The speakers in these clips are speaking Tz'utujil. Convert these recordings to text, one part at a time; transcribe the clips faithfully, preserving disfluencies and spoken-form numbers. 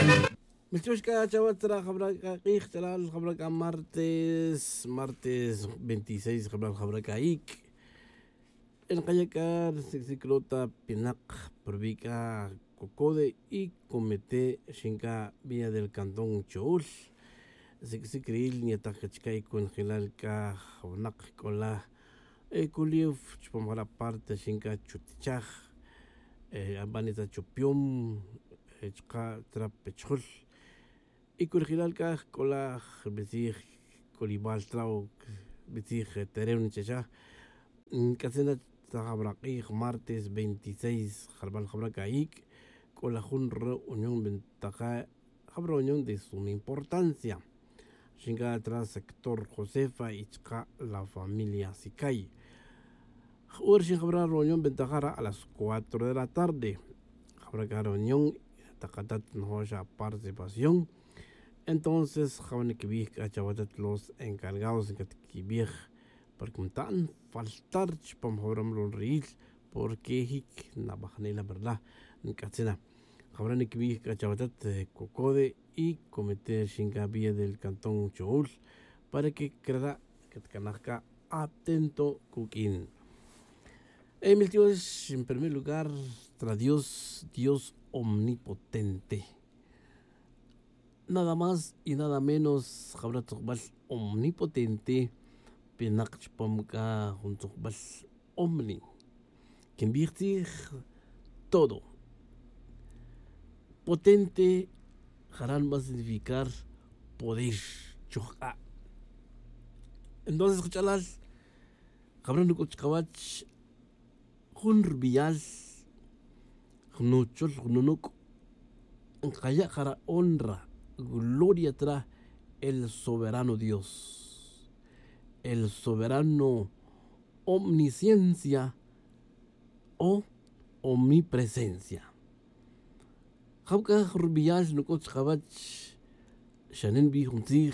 Milch'ox c'a chawech tzra' jabra' c'a k'ij ch'alal jabra' c'a martes martes veintiséis jabra' jabra' c'a ic'. Nkaya' c'a rsic' sic' rota pinak pa rubi' c'a cocode y comete xin c'a vía del cantón cho'ul. Sic' sic' riil nyataj c'a chica' y conjelal c'a jawnak c'ola. Culif chupam jara' parte xin c'a chutichaj. Abanita chupiom chuka' trap chujul. Y curjilal c'a jc'ola' jbitzij c'ulibal tra o bitzij tereno chacha. Nc'atzin na ta jabra' k'ij martes veintiséis jarbal jabra' c'a ic'. C'ola' jun reunión bentaja' jabra' reunión de suma importancia. Xin c'a tra sector josefa y chuka' la familia sicay. J'ur xin jabra' reunión bentaja' ra' a las cuatro de la tarde. Jabra' c'a reunión takatat njoxa participación. Entonces jawin quibij c'a chawatat los encargados ncatquibij para que mta'n faltar chupam jawra' mlolriil. Porque jic nabajnela verdad nc'atzina. Jawra' niquibij c'a chawatat cocode y comete xin c'a vía del cantón cho'ul. Para que crara' catcanaj c'a atento cuq'uin. Emil tiox en primer lugar tra dios dios omnipotente. Nada más y nada menos jabra' tzukbal omnipotente. Pinak chupam c'a jun tzukbal omni quinbij tzij todo. Potente jara' nba significar poder chujk'a'. Entonces kach'alal jabra' nuc'ut chkawach jun rubiyal jun nuchol jun nunuc'. Nkaya' jara' honra gloria tra el soberano dios, el soberano omnisciencia o omnipresencia. Jab c'a rubiyal nuc'ut chkawach xane nbij jun tzij.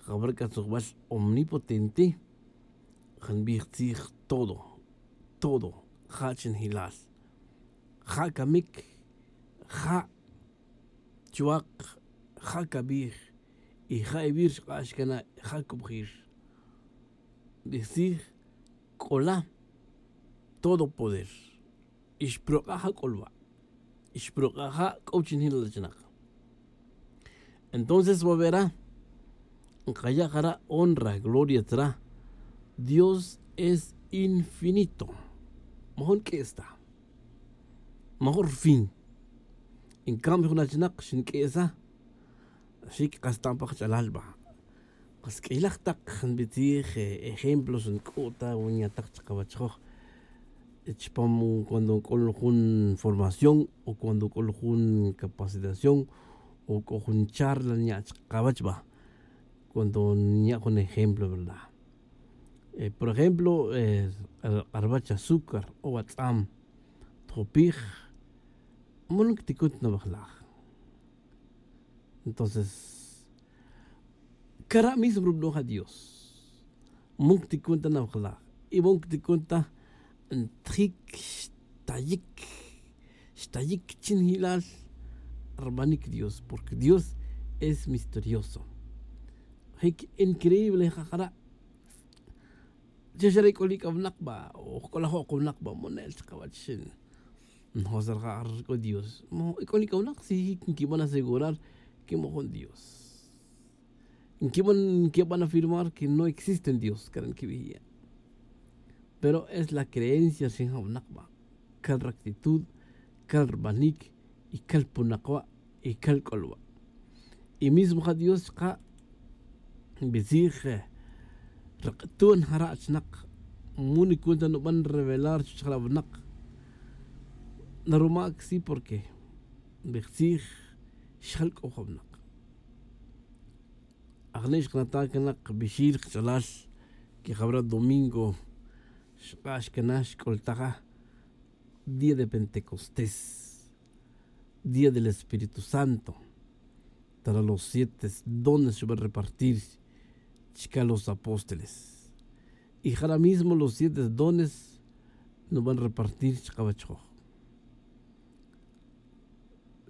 Jabra' c'a tzujbal omnipotente ja nbij tzij todo todo ja' chinjilal ja' camic ja' chuwak ja' cabij y ja' iwir xk'ax cana' ja' cubjir. Nbij tzij c'ola' todo poder y xprok'a' ja' c'olwa' y xprok'a' ja' c'o chinjilal chinak. Entonces wawera' nkaya' jara' honra gloria tzra. Dios es infinito. Majun q'ues ta majun rfin. Encambio jun achinak xinq'uesa xic kastan pa kach'alal ba. Kas q'uilaj tak nbitzij ejemplos nc'u' ta wan nyataj chakawachjoj chupam cuando nc'ul jun formación o cuando nc'ul jun capacitación o c'o jun charla nya' chakawach ba. Cuando nya' jun ejemplo verdad por ejemplo arwach azúcar o atz'am tjopij. Mul ncticun ta nawajlaj. Entonces cara' mismo rubano'j adios. Mul ncticun ta nawajlaj y mul ncticun ta ntjic xtayic xtayic chinjilal rbanic dios porque dios es misterioso. Jic increíble ja jara'. Che xare' c'o li c'awnak ba o jc'olajo' kawnak ba monel chkawach xin. Njoser ja' rc'o dios mo ic'o li c'awnak si jic nquiban asegurar que mojun dios nquiban nquiban afirmar que no existen dios cara' nquibij ya'. Pero es la creencia rxin jawnak ba cal ractitud cal rbanic y cal punak wa' y cal c'ol wa'. Y mismo ja dios chka' nbitzij rk'tun jara' chnak. Mu nicun ta nuban revelar chuch jara' wnak. Naruma' csi porque nbij tzij xjal c'o jawnak. Ajni' xkanata' cana kbixil kach'alal que jawra' domingo xk'ax cana xc'ultaja día de pentecostés día del espíritu santo. Tara los siete dones xuban repartir chca los apóstoles y jara' mismo los siete dones nuban repartir chkawachjoj.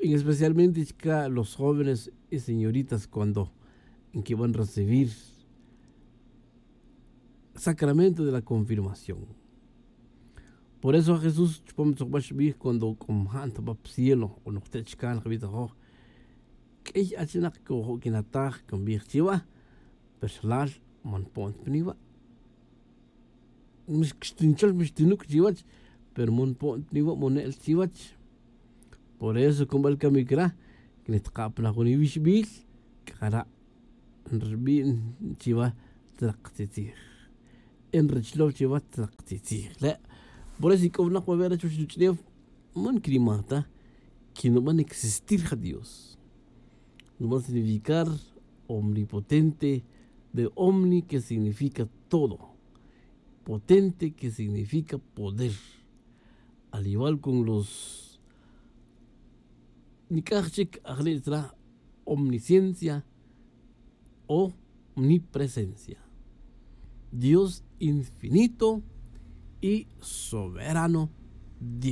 Y especialmente chica los jóvenes y señoritas cuando inquiban recibir sacramento de la confirmación. Por eso a jesús chupam tzokbax xbij cuando c'o mjan ta pa pa cielo o nokte' chican jbij ta joj, q'uiy achinak cojo' quinataj cambij chiva pero xlal man po'n ta piniva'. Mixtinchol mixtinuc' chiwach pero man po'n ta piniva' mone'l chiwach. Por eso cubal camic ra que nitaka' pa na jun iwixbil c'ara' nrbi'n chiwa tzrak tzitzij. Nrachlow chiwa tzrak tzitzij le'. Por eso ic'o winak wawe' rech wach nuch'new man quinimaj ta que nuban existir ja dios. Nuban significar omnipotente, de omni que significa todo, potente que significa poder. Al igual con los nic'aj chic ajle' tzra omnisciencia, omnipresencia. Dios infinito y soberano. Dios.